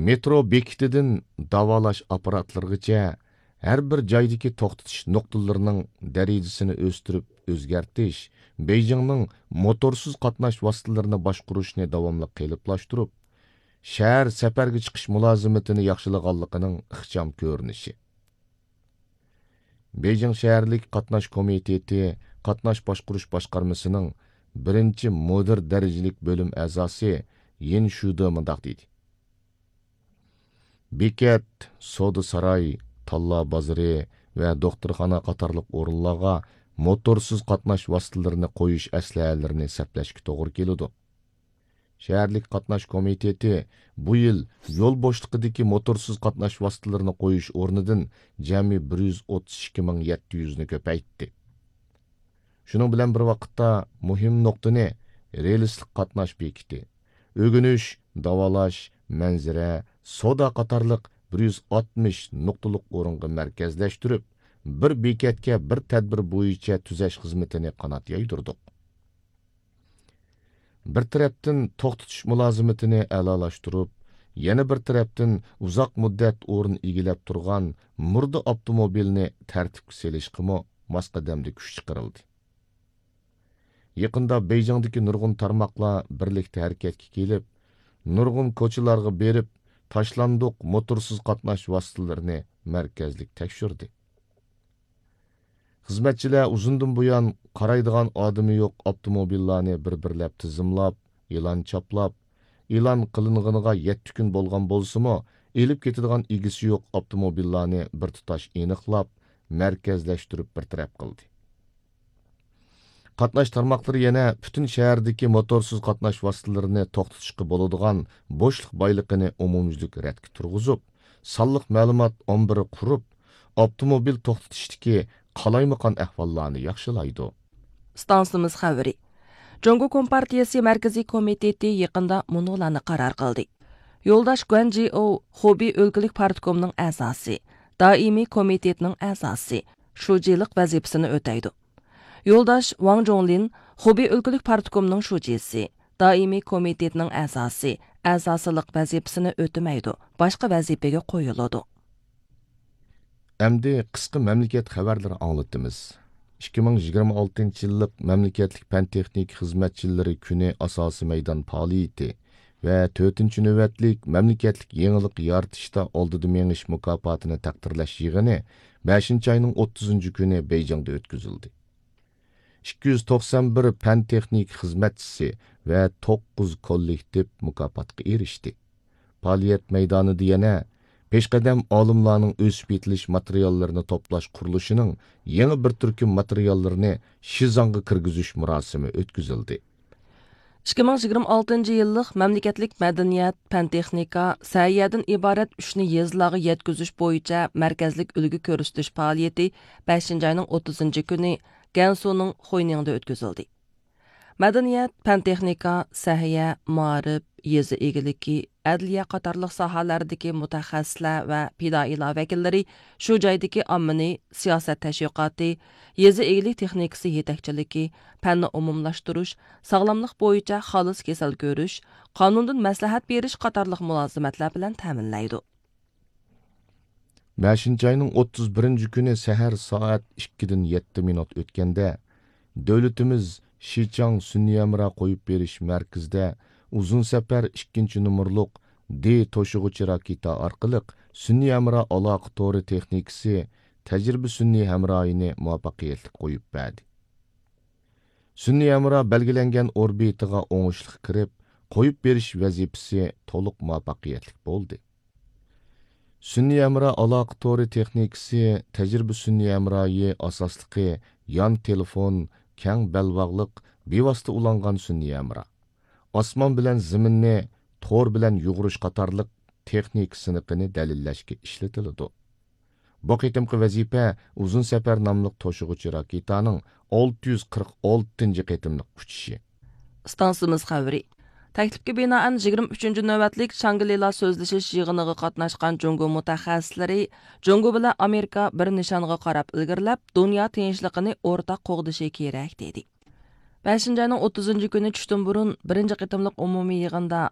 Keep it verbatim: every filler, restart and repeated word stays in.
مېترو بېكىتىدىن داۋالاش ئاپپاراتلىرىغىچە ھەر بىر جايدىكى توختىتىش نۇقتىلىرىنىڭ دەرىجىسىنى ئۆستۈرۈپ ئۆزگەرتىش بېيجىڭنىڭ موتورسىز قاتناش ۋاسىتىلىرىنى باشقۇرۇشنى داۋاملىق قېلىپلاشتۇرۇپ، شەھەر سەپەرگە چىقىش مۇلازىمىتىنى ياخشىلىغانلىقىنىڭ ئىخچام كۆرۈنۈشى. بېيجىڭ شەھەرلىك قاتناش كومىتېتى قاتناش باشقۇرۇش باشقارمىسىنىڭ بىرىنچى مۇدىر دەرىجىلىك بۆلۈم ئەزاسى يىن شۈدې مۇنداق دېدى: بېكەت، سودا ساراي، تاللا بازىرى ۋە دوختۇرخانا قاتارلىق ئورۇنلارغا موتورسىز قاتناش ۋاسىتىلىرىنى قويۇش ئەسلىھەلىرىنى سەپلەشكە توغرا كېلىدۇ. شەھەرلىك قاتناش كومىتېتى بۇ يىل يول بوشلۇقىدىكى موتورسىز قاتناش ۋاسىتىلىرىنى قويۇش ئورنىدىن جەمئىي بىر يۈز ئوتتۇز ئىككى مىڭ يەتتە يۈزنى كۆپەيتتى. شۇنىڭ بىلەن بىر ۋاقىتتا، مۇھىم نۇقتىنى رېلىسلىق قاتناش بېكىتى، ئۆگىنىش، داۋالاش، مەنزىرە، سودا قاتارلىق بىر يۈز ئاتمىش نۇقتىلىق ئورۇنغا مەركەزلەشتۈرۈپ، بىر بېكەتكە بىر تەدبىر بويىچە تۈزەش خىزمىتىنى قانات يايدۇردۇق. بىر تەرەپتىن توختىتىش مۇلازىمىتىنى ئەلالاشتۇرۇپ، يەنە بىر تەرەپتىن ئۇزاق مۇددەت ئورۇن ئىگىلەپ تۇرغان مۇردە ئاپتوموبىلنى تەرتىپكە سېلىشقىمۇ ماس قەدەمدە كۈچ چىقىرىلدى. يېقىندا بېيجىڭدىكى نۇرغۇن تارماقلار بىرلىكتە ھەرىكەتكە كېلىپ، نۇرغۇن كوچىلارغا بېرىپ، تاشلاندۇق موتورسىز قاتناش ۋاسىتىلىرىنى مەركەزلىك تەكشۈردى. خىزمەتچىلەر ئۇزۇندىن بۇيان قارايدىغان ئادىمى يوق ئاپتوموبىللارنى بىر-بىرلەپ تىزىملاپ، ئېلان چاپلاپ، ئېلان قىلىنغىنىغا يەتتە كۈن بولغان بولسىمۇ، ئېلىپ كېتىدىغان ئىگىسى يوق ئاپتوموبىللارنى بىر تۇتاش ئېنىقلاپ، مەركەزلەشتۈرۈپ بىر تەرەپ قىلدى. قاتناش تارماقلىرى يەنە پۈتۈن شەھەردىكى موتورسىز قاتناش ۋاسىتىلىرىنى توختىتىشقا بولىدىغان بوشلۇق بايلىقىنى ئومۇميۈزلۈك رەتكە تۇرغۇزۇپ، سانلىق مەلۇمات ئامبىرى قۇرۇپ، ئاپتوموبىل توختىتىشتىكى قالايمىقان ئەھۋاللارنى ياخشىلايدۇ. ئىستانسىمىز خەۋىرى. جۇڭگو كومپارتىيىسى مەركىزىي كومىتېتى يېقىندا مۇنۇلارنى قارار قىلدى. يولداش گۇەن جىئو خۇبېي ئۆلكىلىك پارتكومنىڭ ئەزاسى، دائىمىي كومىتېتنىڭ ئەزاسى، شۇجىلىق ۋەزىپىسىنى ئۆتەيدۇ. يولداش ۋاڭ جۇڭلىن خۇبېي ئۆلكىلىك پارتكومنىڭ شۇجىسى، دائىمىي كومىتېتنىڭ ئەزاسى، ئەزاسىلىق ۋەزىپىسىنى ئۆتىمەيدۇ، باشقا ۋەزىپىگە قويۇلىدۇ. ئەمدى قىسقا مەملىكەت خەۋەرلىرى ئاڭلىتىمىز. ئىككى مىڭ يىگىرمە ئالتىنچى يىللىق مەملىكەتلىك پەن-تېخنىكا خىزمەتچىلىرى كۈنى ئاساسىي مەيدان پائالىيىتى ۋە تۆتىنچى نۆۋەتلىك مەملىكەتلىك يېڭىلىق يارىتىشتا ئالدىدا مېڭىش مۇكاپاتىنى تەقدىرلەش يىغىنى بەشىنچى ئاينىڭ ئوتتۇزىنچى كۈنى بېيجىڭدا ئۆتكۈزۈلدى. ئىككى يۈز توقسان بىر پەن-تېخنىكا خىزمەتچىسى ۋە توققۇز كوللېكتىپ مۇكاپاتقا ئېرىشتى. پائالىيەت مەيدانىدا يەنە پېشقەدەم ئالىملارنىڭ ئۆسۈپ يېتىلىش ماتېرىياللىرىنى توپلاش قۇرۇلۇشىنىڭ يېڭى بىر تۈركۈم ماتېرىياللىرىنى شىزاڭغا كىرگۈزۈش مۇراسىمى ئۆتكۈزۈلدى. ئىككى مىڭ يىگىرمە ئالتىنچى يىللىق مەملىكەتلىك مەدەنىيەت، پەن-تېخنىكا، سەھىيەدىن ئىبارەت ئۈچنى يېزىلارغا يەتكۈزۈش بويىچە مەركەزلىك ئۈلگە كۆرسىتىش پائالىيىتى بەشىنچى ئاينىڭ ئوتتۇزىنچى كۈنى گەنسۇنىڭ خۇينىڭدا ئۆتكۈزۈلدى. مەدەنىيەت، پەن-تېخنىكا، سەھىيە، مائارىپ، يېزا ئىگىلىكى، ئەدلىيە قاتارلىق ساھەلەردىكى مۇتەخەسسىسلەر ۋە پىدائىيلار ۋەكىللىرى شۇ جايدىكى ئاممىنى سىياسەت تەشۋىقاتى، يېزا ئىگىلىك تېخنىكىسى يېتەكچىلىكى، پەننى ئومۇملاشتۇرۇش، ساغلاملىق بويىچە خالىس كېسەل كۆرۈش، قانۇندىن مەسلىھەت بېرىش قاتارلىق مۇلازىمەتلەر بىلەن تەمىنلەيدۇ. بەشىنچى ئاينىڭ ئوتتۇز بىرىنچى كۈنى سەھەر سائەت ئىككىدىن يەتتە مىنۇت ئۆتكەندە، دۆلىتىمىز شىچاڭ سۈنئىي ھەمراھ قويۇپ بېرىش مەركىزىدە ئۇزۇن سەپەر ئىككىنچى نومۇرلۇق دې توشۇغۇچى راكېتا ئارقىلىق سۈنئىي ھەمراھ ئالاقە تورى تېخنىكىسى تەجرىبە سۈنئىي ھەمراھىنى مۇۋەپپەقىيەتلىك قويۇپ بەردى. سۈنئىي ھەمراھ بەلگىلەنگەن ئوربىتىغا ئوڭۇشلۇق كىرىپ، قويۇپ بېرىش ۋەزىپىسى تولۇق مۇۋەپپەقىيەتلىك بولدى. سۈنئىي ھەمراھ ئالاقە تورى تېخنىكىسى تەجرىبە سۈنئىي ھەمراھى ئاساسلىقى يان تېلېفون، كەڭ بەلباغلىق، بىۋاسىتە ئۇلانغان سۈنئىي ھەمراھ، ئاسمان بىلەن زېمىننى تور بىلەن يۇغۇرۇش قاتارلىق تېخنىكا سىنىقىنى دەلىللەشكە ئىشلىتىلىدۇ. بۇ قېتىمقى ۋەزىپە ئۇزۇن سەپەر ناملىق توشۇغۇچى راكېتانىڭ ئالتە يۈز قىرىق ئالتىنچى قېتىملىق ئۇچۇشى. ئىستانسىمىز خەۋىرى. تەكلىپكە بىنائەن، يىگىرمە ئۈچىنچى نۆۋەتلىك شاڭگلىلا سۆزلىشىش يىغىنىغا قاتناشقان جۇڭگو مۇتەخەسسىسلىرى جۇڭگو بىلەن ئامېرىكا بىر نىشانغا قاراپ ئىلگىرىلەپ، دۇنيا تىنچلىقىنى ئورتاق قوغدىشى كېرەك، دېدى. بەشىنچى ئاينىڭ ئوتتۇزىنچى كۈنى چۈشتىن بۇرۇن بىرىنچى قېتىملىق ئومۇمىي يىغىندا